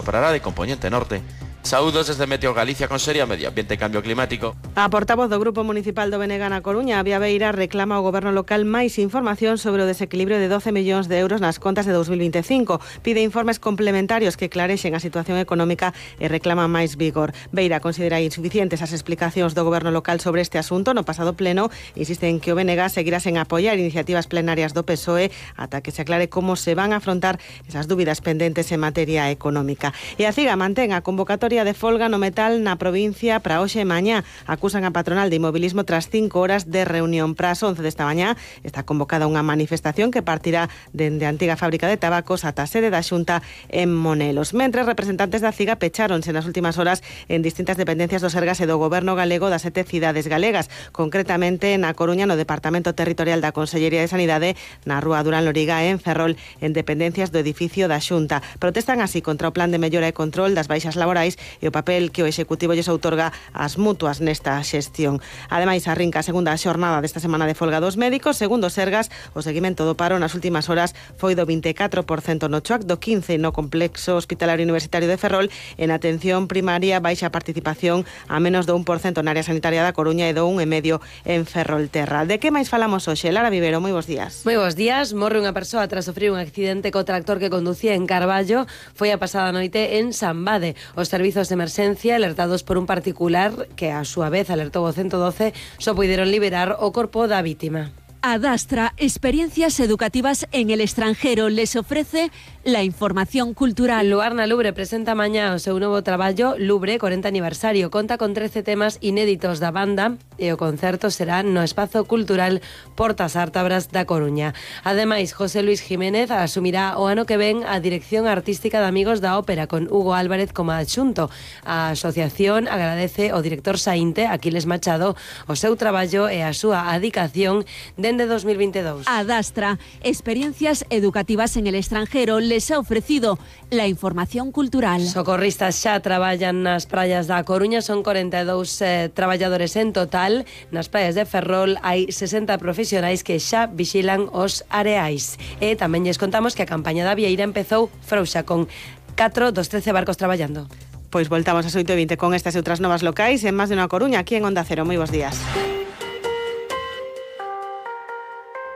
soprará de componente norte. Saúdos desde Meteo Galicia con Seria Medio Ambiente e Cambio Climático. A portavoz do Grupo Municipal do BNG na Coruña, Avia Beira, reclama ao Goberno local máis información sobre o desequilibrio de 12 millóns de euros nas contas de 2025. Pide informes complementarios que clarexen a situación económica e reclama máis vigor. Beira considera insuficientes as explicacións do Goberno local sobre este asunto. No pasado pleno insiste en que o BNG seguirá sen apoiar iniciativas plenarias do PSOE ata que se aclare como se van a afrontar esas dúbidas pendentes en materia económica. E a CIGA mantén a convocatoria de folga no metal na provincia para hoxe e mañá. Acusan a patronal de inmobilismo tras 5 horas de reunión. Para as 11 desta mañá está convocada unha manifestación que partirá dende a antiga fábrica de tabacos ata a sede da Xunta en Monelos. Mentres, representantes da CIGA pecháronse nas últimas horas en distintas dependencias do Sergas e do Goberno galego das 7 cidades galegas, concretamente na Coruña no Departamento Territorial da Consellería de Sanidade, na Rúa Durán Loriga e en Ferrol en dependencias do edificio da Xunta. Protestan así contra o plan de mellora e control das baixas laborais e o papel que o Executivo lles outorga ás mutuas nesta xestión. Ademais, arrinca a segunda xornada desta semana de folga dos médicos. Segundo Sergas, o seguimento do paro nas últimas horas foi do 24% no CHOAC, do 15% no Complexo Hospitalario Universitario de Ferrol. En atención primaria, baixa participación a menos do 1% na área sanitaria da Coruña e do 1,5% en Ferrolterra. De que máis falamos hoxe? Lara Vivero, moi bons días. Moi bons días. Morre unha persoa tras sofrer un accidente co tractor que conducía en Carballo. Foi a pasada noite en Sambade. Os servizos de emerxencia, alertados por un particular que a súa vez alertou o 112, só puideron liberar o corpo da vítima. Adastra, experiencias educativas en el extranjero, les ofrece la información cultural. Luarna Lubre presenta mañá o seu novo traballo Lubre 40 aniversario. Conta con 13 temas inéditos da banda e o concerto será no Espazo Cultural Portas Ártabras da Coruña. Ademais, José Luis Jiménez asumirá o ano que ven a dirección artística de Amigos da Ópera con Hugo Álvarez como adxunto. A asociación agradece ao director saínte, Aquiles Machado, o seu traballo e a súa adicación dende 2022. Adastra, experiencias educativas en el extranjero, les ha ofrecido la información cultural. Socorristas xa traballan nas praias da Coruña, son 42 traballadores en total. Nas praias de Ferrol hai 60 profesionais que xa vixilan os areais. E tamén lles contamos que a campaña da Vieira empezou frouxa con 4 dos 13 barcos traballando. Pois voltamos ás 8:20 con estas e outras novas locais en Más de unha Coruña, aquí en Onda Cero. Moi bons días.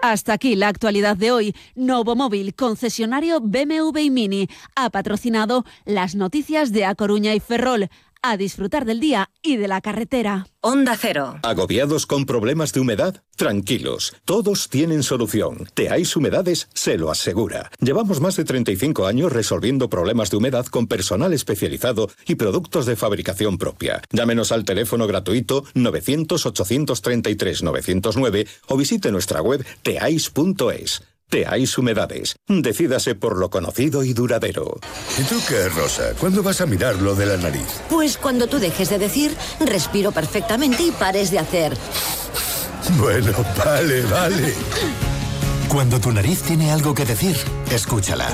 Hasta aquí la actualidad de hoy. Novomóvil, concesionario BMW y Mini, ha patrocinado las noticias de A Coruña y Ferrol. A disfrutar del día y de la carretera. Onda Cero. ¿Agobiados con problemas de humedad? Tranquilos, todos tienen solución. Teáis Humedades se lo asegura. Llevamos más de 35 años resolviendo problemas de humedad con personal especializado y productos de fabricación propia. Llámenos al teléfono gratuito 900-833-909 o visite nuestra web teais.es. Teáis Humedades. Decídase por lo conocido y duradero. ¿Y tú qué, Rosa? ¿Cuándo vas a mirar lo de la nariz? Pues cuando tú dejes de decir, respiro perfectamente y pares de hacer. Bueno, vale. Cuando tu nariz tiene algo que decir, escúchala.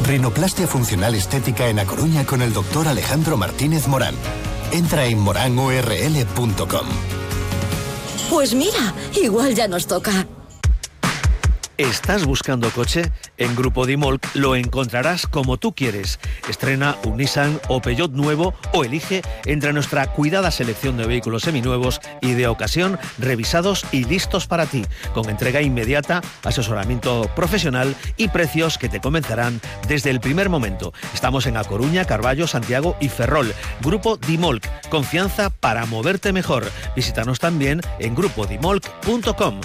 Rinoplastia funcional estética en A Coruña con el doctor Alejandro Martínez Morán. Entra en moranurl.com. Pues mira, igual ya nos toca. ¿Estás buscando coche? En Grupo Dimolc lo encontrarás como tú quieres. Estrena un Nissan o Peugeot nuevo o elige entre nuestra cuidada selección de vehículos seminuevos y de ocasión revisados y listos para ti, con entrega inmediata, asesoramiento profesional y precios que te convencerán desde el primer momento. Estamos en A Coruña, Carballo, Santiago y Ferrol. Grupo Dimolc, confianza para moverte mejor. Visítanos también en grupodimolc.com.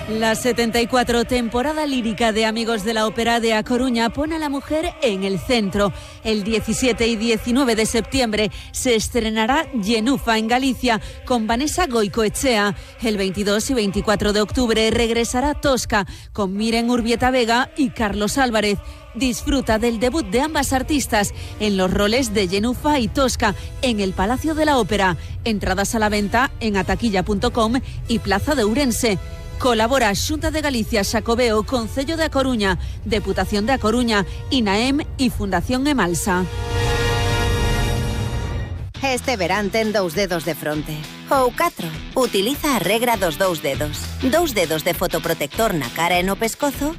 La 74 temporada lírica de Amigos de la Ópera de A Coruña pone a la mujer en el centro. El 17 y 19 de septiembre se estrenará Llenufa en Galicia con Vanessa Goicoechea. El 22 y 24 de octubre regresará Tosca con Miren Urbieta Vega y Carlos Álvarez. Disfruta del debut de ambas artistas en los roles de Llenufa y Tosca en el Palacio de la Ópera. Entradas a la venta en ataquilla.com y Plaza de Ourense. Colabora Xunta de Galicia, Xacobeo, Concello de A Coruña, Deputación de A Coruña, INAEM y Fundación Emalsa. Este verán ten dous dedos de fronte. Ou 4. Utiliza a regra dos 2 dedos. 2 dedos de fotoprotector na cara e no pescozo